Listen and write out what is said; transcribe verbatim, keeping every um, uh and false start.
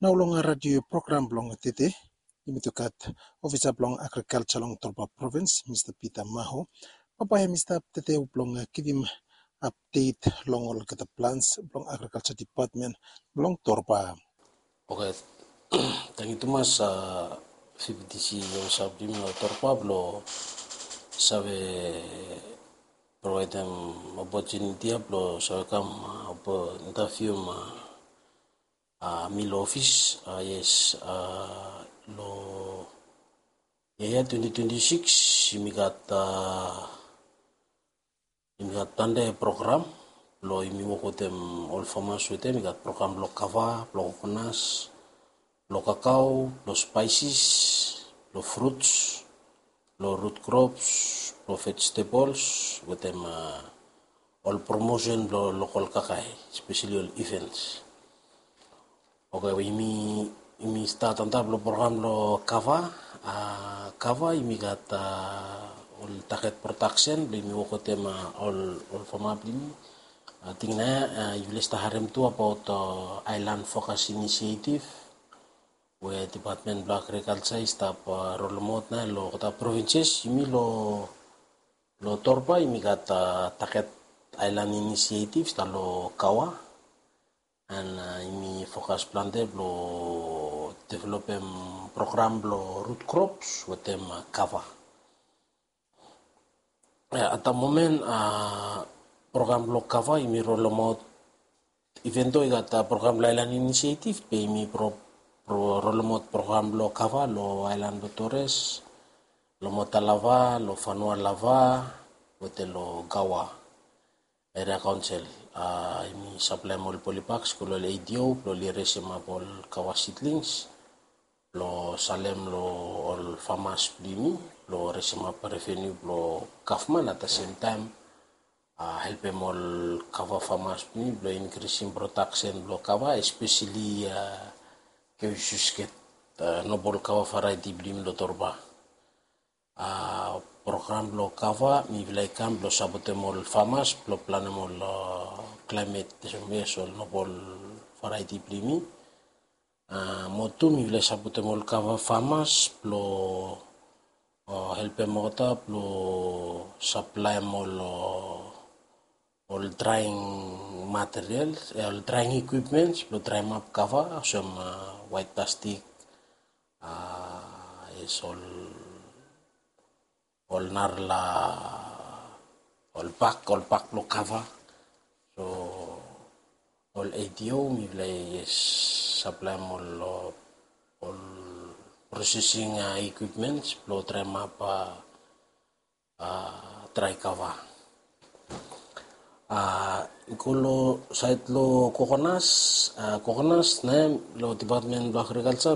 Nao long radio program blong tede, yumi tu gat ofisa blong agrikalsa long Torba Provins, Mista Peter Maho. Papa hem i stap tede blong givim update long olgeta plans blong agrikalsa dipatmen blong Torba. Oke, tangkiu tumas, a, V P T C long sap blong yumi long Torba blong save provaidem opotuniti ya blong save kam, a, interviu, a, a, mi long ofis, a, yes, a, long yia ya twenty twenty-six, yumi gat, a, yumi gat plante program blong yumi wok wetem ol famas wetem. Yumi gat program blong kava, blong kokonas, blong kakao, blong spaisis, blong fruts, blong rut krops, blong vegetables, wetem, a, ol promosen blong lokal kakae, espeseli ol events. Oke, yumi, yumi stat antap long program blong kava. A, kava yumi gat, a, ol target protection blong yumi wok wetem, a, ol, ol fama blong yumi. Ating nao, a, yufala i stap harem tu abaot, a, Island Focus Initiative we Dipatmen blong Agrikalsa i stap, a, rolemaot nao long olgeta provinces. Yumi long, long Torba yumi gat, a, target Island Initiative i stap long kava. And, a, yumi fokas plante blong developem program blong rut krops wetem, a, kava. A, at the moment, a, program blong kava yumi rolemaot, even though i gat, a, program blong Island Initiative, be yumi pro, pro, rolemaot program blong kava long aelan blong Torres, long Mota Lava, long Fanua Lava, wetem long Gaua Area Council. A, yumi saplaem ol polybag, go long ol A D O blong oli resemap ol kava seedlings blong salem long ol famas blong yumi blong resemap revenu blong gavman, at the same time, a, helpem ol kava famas blong yumi blong inkrisim protection blong kava, espeseli, a, Keusius Kate, a, nobol kava variety blong yumi long Torba. A, program blong kava mifala i kam blong sapotem ol famas blong planem ol, a, climate, yes, ol nobol variety blong yumi. A, mo tu mifala i sapotem ol kava famas blong, a, helpem olgeta blong saplaem ol, a, ol drying materials, e, ol drying equipments blong draemap kava, olsem, a, white plastic, a, yes, ol, ol narala, ol bag, ol bag blong kava. So ol A D O mifala i, yes, saplaem ol, ol processing, a, equipments blong draemap, a, a, dry kava. A, go long saed long kokonas, a, kokonas nao long Dipatmen blong Agrikalsa